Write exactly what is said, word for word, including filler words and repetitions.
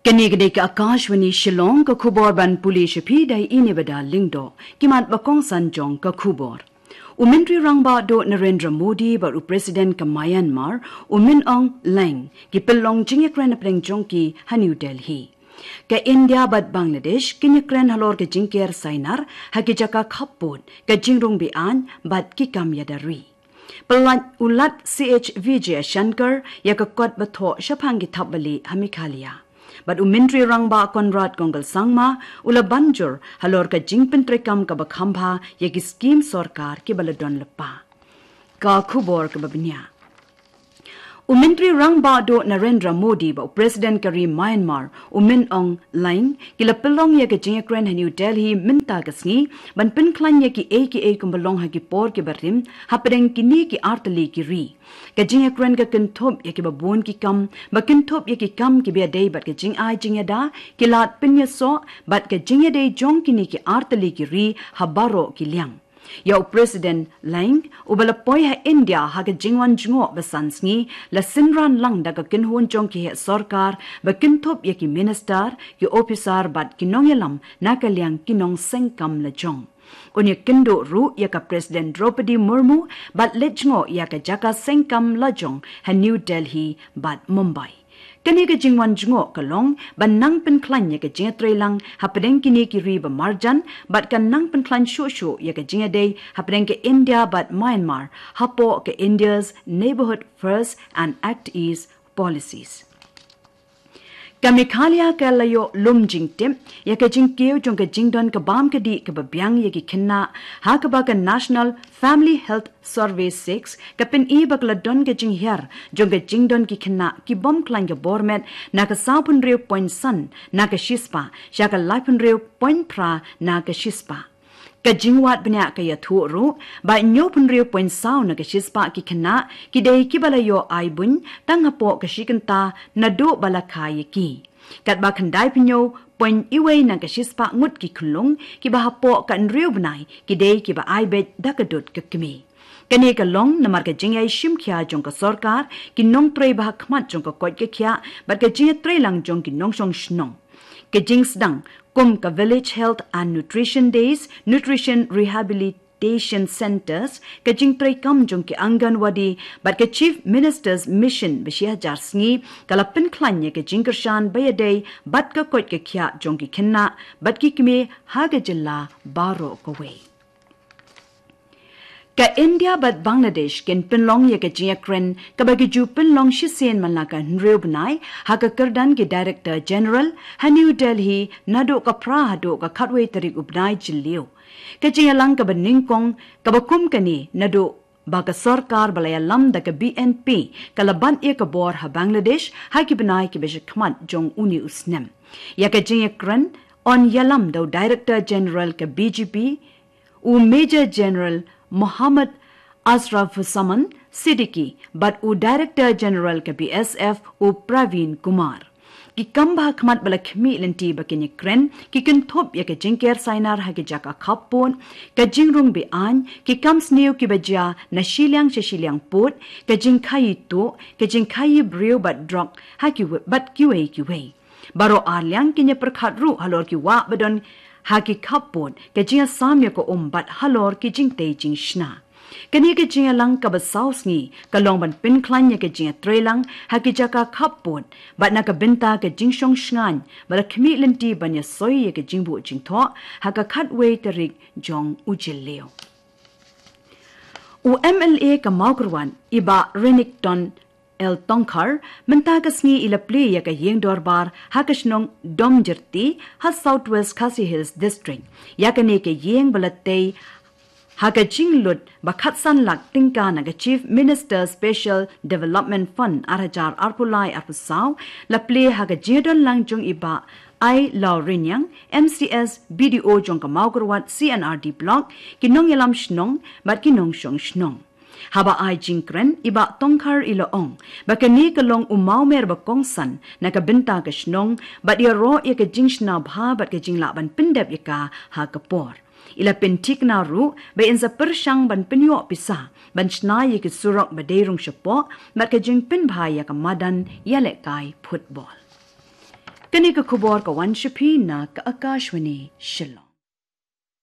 Kane ka dei ka Akashvani Shillong, ka khubor ban pule sha phi da i Nebada Lyngdoh. Ki mat ba kongsan jong ka khubor. U Myntri Rangbah Duh Narendra Modi bad u President ka Myanmar, u Min Aung Hlaing, ki pynlong jingïakren hapdeng jong ki ha New Delhi. Ka India bad Bangladesh kin ïakren halor ka jingker sainar ha ki jaka khappud, ka jingrung be-aiñ bad ki kam ïada ri. Pynlait u Lat C H Vijayashankar ïa ka kot ba thoh shaphang ki thapbalieh ha Meghalaya. Bad u Myntri Rangbah Conrad Kongkal Sangma u la ban jur halor ka jingpyntreikam kaba kham bha ïa ki skhim sorkar kiba la don lypa. Ka khubor kaba bniah. U Myntri Rangbah Duh Narendra Modi bad u President ka ri Myanmar, u Min Aung Hlaing, ki la pynlong ïa ka jingïakren ha New Delhi mynta ka sngi ban pynkhlaiñ ïa kiei kiei kumba long ha ki por kiba rim hapdeng kine ki artylli ki ri. Ka jingïakren ka kynthup ïa kiba bun ki kam, ba kynthup ïa ki kam kiba ïadei bad ka jingai jingïada, ki lad pynïasoh bad ka jingïadei jong kine ki artylli ki ri ha baroh ki liang. Ïa u President Hlaing, uba la poi ha India ha ka jingwan jngoh ba san sngi, la synran lang da ka kynhun jong ki heh sorkar ba kynthup ïa ki minister, ki ophisar bad ki nongïalam na ka liang ki nongseng kam lajong. Un ïakynduh ruh ïa ka President Droupadi Murmu bad leit jngoh ïa ka jaka seng kam lajong ha New Delhi bad Mumbai. Kane ka jingwan jngoh ka long ban nang pynkhlaiñ ïa ka jingïatreilang hapdeng kine ki ri ba marjan bad kan nang pynkhlaiñ shuh shuh ïa ka jingïadei hapdeng ka India bad Myanmar hapoh ka India's Neighbourhood First and Act East policies. Ka Meghalaya ka la ïoh lum jingtip ïa ka jingkiew jong ka jingdon ka bam ka dih kaba biang ïa ki khynnah, ha kaba ka National Family Health Survey six ka pyni ba ka la don ka jinghiar jong ka jingdon ki khynnah ki bym khlaiñ ka bor met na ka saw pynriew point san na ka shispah sha ka lai pynriew point phra na ka shispah. Ka jingwad bniah ka ïathuh ruh ba hynñiew pynriew point saw na ka shispah ki khynnah ki dei kiba la ïoh ai buiñ tang hapoh ka shi kynta naduh ba la kha ïa ki. Katba khyndai phew point iwei na ka shispah ngut ki khyllung kiba hapoh ka hynriew bnai ki dei kiba ai beit da ka dud ka kmie. Kane ka long namar ka jingïai shim khia jong ka sorkar, ki nongtrei ba ha khmat jong ka koit ka khiah bad ka jingïatreilang jong ki nongshong shnong. Ka jingsdang kum ka Village Health and Nutrition Days, Nutrition Rehabilitation Centres, ka jingtreikam jong ki Anganwadi bad ka Chief Minister's Mission ba shi hajar sngi ka la pynkhlaiñ ïa ka jingkyrshan ba ïadei bad ka koit ka khiah jong ki khynnah bad ki kmie ha ka jylla baroh kawei. Ka India bad Bangladesh kin pynlong ïa ka jingïakren kaba ki ju pynlong shisien man la ka hynriew bnai ha ka kyrdan ki Director General ha New Delhi naduh ka phra haduh ka khatwei tarik u bnai Jylliew. Ka jingïalang kaba nyngkong kaba kum kane naduh ba ka sorkar ba la ïalam da ka B N P ka la bat ïa ka bor ha Bangladesh ha ki bnai kiba sha khmat jong une u snem. Ïa ka jingïakren yn ïalam da u Director General ka B G P, u Major General Mohammad Ashrafuzzaman Siddiqui bad u Director General ka B S F u Praveen Kumar. Ki kam ba ha khmat ba la khmih lynti ba kin ïakren ki kynthup ïa ka jingker sainar ha ki jaka khappud, ka jingrung be-aiñ, ki kam sniew kiba jia na shiliang sha shiliang pud, ka jingkhaii tuh, ka jingkhaii briew bad drok ha kiwei bad kiwei kiwei. Baroh arliang kin ïapyrkhat ruh halor ki wah ba don ha ki khappud, ka jingïasam ïa ka um bad halor ki jingtei jingshna. Kane ka jingïalang kaba saw sngi ka long ban pynkhlaiñ ïa ka jingïatreilang ha ki jaka khappud bad na ka bynta ka jingshong shngaiñ ba la khmih lynti ban ïasoi ïa ka jingbuh jingthoh ha ka khatwei tarik jong u Jylliew. U M L A ka Mawkyrwat, i Bah Renikton L Tongkhar, mynta ka sngi i la plie ïa ka ïing dorbar ha ka shnong Domjyrti ha South West Khasi Hills District. Ïa kane ka ïing ba la tei ha ka jinglut ba khatsan lak tyngka na ka Chief Minister Special Development Fund ar hajar arphew lai arphew saw, la plie ha ka jingïadonlang jong i Bah Ailawrynïang, M C S, B D O jong ka Mawkyrwat C and R D Block, ki nongïalam shnong bad ki nongshong shnong. Haba ai jingkren, i Bah Tongkhar i la ong ba kane ka long u mawmer ba kongsan na ka bynta ka shnong bad ïaroh ïa ka jingshna bha bad ka jinglah ban pyndep ïa ka ha ka por. I la pynthikna ruh ba in sa pyrshang ban pynïoh pisa ban shna ïa ki surok ba dei rung shapoh bad ka jingpynbha ïa ka madan ïalehkai football. Kane ka khubor ka wan sha phi na ka Akashvani Shillong.